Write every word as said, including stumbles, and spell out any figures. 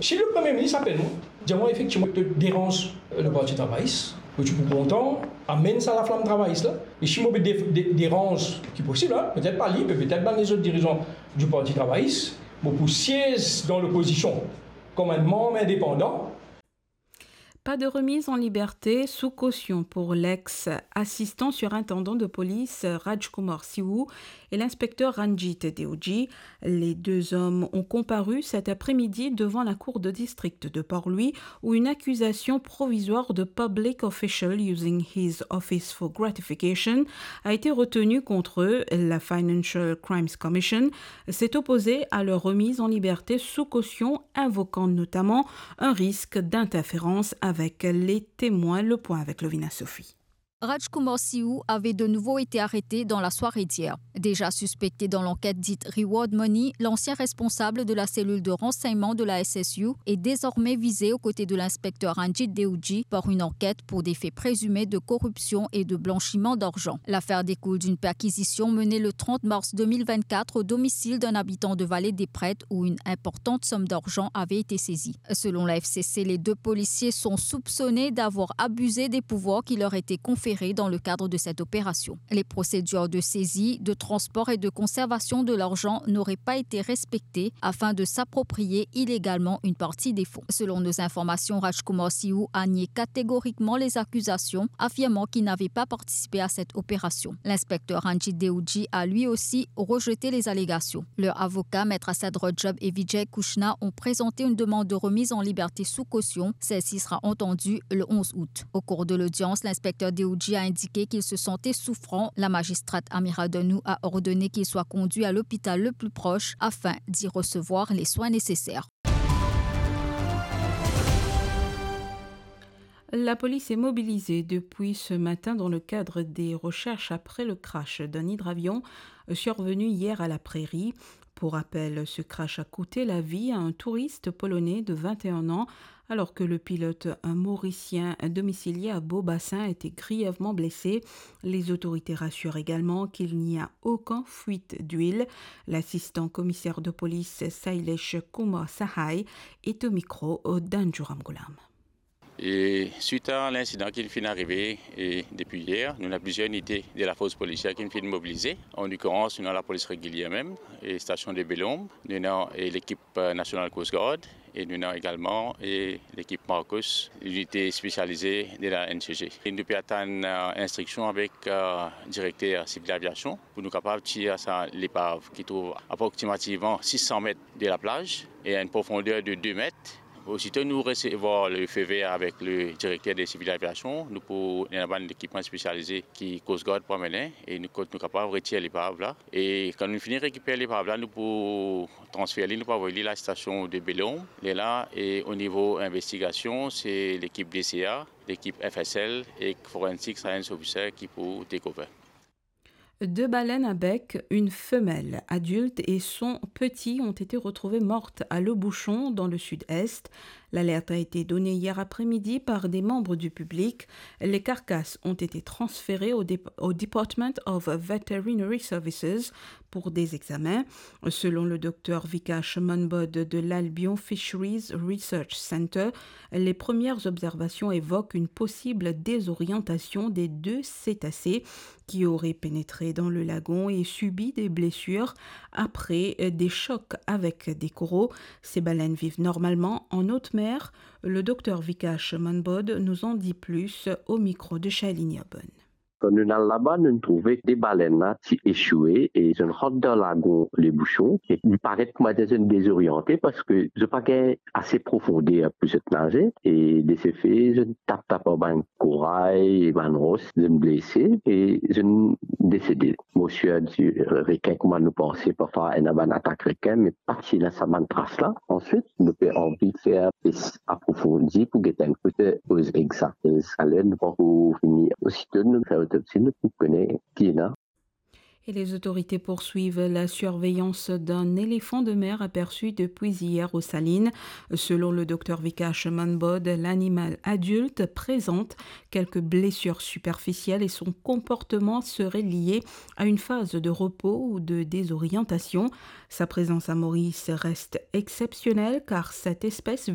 Si le Premier ministre apel mwa, dir mwa efektivman to deranz le Parti Travayis, mo ti pou kontan amenn sa laflam travayis la. E si mo pe de-, de-, deranz, ki posib, hein, petet pa li, me petet bann lezot dirizan du Parti Travayis, mo pou siez dan lopozision kom enn manm indepandan. Pas de remise en liberté sous caution pour l'ex-assistant surintendant de police Rajkumar Siu et l'inspecteur Ranjit Deoji. Les deux hommes ont comparu cet après-midi devant la cour de district de Port-Louis, où une accusation provisoire de public official using his office for gratification a été retenue contre eux. La Financial Crimes Commission s'est opposée à leur remise en liberté sous caution, invoquant notamment un risque d'interférence avec les témoins. Le point avec Lovina Sophie. Rajkumar Siu avait de nouveau été arrêté dans la soirée d'hier. Déjà suspecté dans l'enquête dite Reward Money, l'ancien responsable de la cellule de renseignement de la S S U est désormais visé aux côtés de l'inspecteur Ranjit Deoji par une enquête pour des faits présumés de corruption et de blanchiment d'argent. L'affaire découle d'une perquisition menée le trente mars deux mille vingt-quatre au domicile d'un habitant de Vallée des Prêtres où une importante somme d'argent avait été saisie. Selon la F C C, les deux policiers sont soupçonnés d'avoir abusé des pouvoirs qui leur étaient conférés dans le cadre de cette opération. Les procédures de saisie, de transport et de conservation de l'argent n'auraient pas été respectées afin de s'approprier illégalement une partie des fonds. Selon nos informations, Rajkumar Siu a nié catégoriquement les accusations, affirmant qu'il n'avait pas participé à cette opération. L'inspecteur Ranjit Deoji a lui aussi rejeté les allégations. Leur avocat, Maître Asad Rajab et Vijay Kushna, ont présenté une demande de remise en liberté sous caution. Celle-ci sera entendue le onze août. Au cours de l'audience, l'inspecteur Deoji a indiqué qu'il se sentait souffrant. La magistrate Amira Danou a ordonné qu'il soit conduit à l'hôpital le plus proche afin d'y recevoir les soins nécessaires. La police est mobilisée depuis ce matin dans le cadre des recherches après le crash d'un hydravion survenu hier à la Prairie. Pour rappel, ce crash a coûté la vie à un touriste polonais de vingt et un ans, alors que le pilote, un Mauricien domicilié à Beaubassin, a été grièvement blessé. Les autorités rassurent également qu'il n'y a aucune fuite d'huile. L'assistant commissaire de police Sailesh Kumar Sahai est au micro d'Anjou Ramgoolam. E swit a linsidan ki finn arive, e depi yer, nou ena plizier inite de lafors polisier ki finn mobilize. An lokilerans, nou ena lapolis regilier mem, e stasion de Bel Ombre, nou ena, e lekip, e, nasional Coast Guard, e nou ena egalman, e lekip Marcus, linite spesialize de la N C G. E nou pe atann, e, instriksion avek, e, direkter sivil aviasion pou nou kapav tir sa lepav ki trouv aproksimativman sis san met de laplaz e a enn profonder de de met. Osito nou resevwar le feu vert avek le direkter de sivil aviasion, nou pou ena bann lekipman spesialize ki Coast Guard pou amene e nou, kot nou kapav retir lepav la. E kan nou fini rekiper lepav la, nou pou transfer li, nou pou avoy li lastasion de Bel Ombre. Lerla, e o nivo investigasion, se lekip D C A, lekip F S L e forensic science officer ki pou take over. Deux baleines à bec, une femelle adulte et son petit ont été retrouvées mortes à Le Bouchon, dans le sud-est. L'alerte a été donnée hier après-midi par des membres du public. Les carcasses ont été transférées au dép-, au Department of Veterinary Services pour des examens. Selon le docteur Vikash Manbod de l'Albion Fisheries Research Centre, les premières observations évoquent une possible désorientation des deux cétacés qui auraient pénétré dans le lagon et subi des blessures après, euh, des chocs avec des coraux. Ces baleines vivent normalement en haute mer. Le docteur Vikash Manbod nous en dit plus au micro de Shailini Obon. Kan nou al laba, nou trouve de baleine la ti echoue e zot rant dan lagon Le Bouchon. E li paret kouma zot dezoriante parski zot pa gagn ase profonder pou zot naze. E de se fe, zot tap tap ar bann koray e bann ros, zot blese e zot desede. Morsir di rekin, kouma nou panse, parfwa ena bann atak rekin, me pa ti ena sa bann tras la. Answit, nou pe anvi fer pes aprofondi pou get enn kote koz egzak. E sa ler nou pankor fini. Osito nou fer otopsi, nou pou kone ki ena. Et les autorités poursuivent la surveillance d'un éléphant de mer aperçu depuis hier aux Salines. Selon le docteur Vikash Manbod, l'animal adulte présente quelques blessures superficielles et son comportement serait lié à une phase de repos ou de désorientation. Sa prezans a Moris reste exsepsionel, kar set espes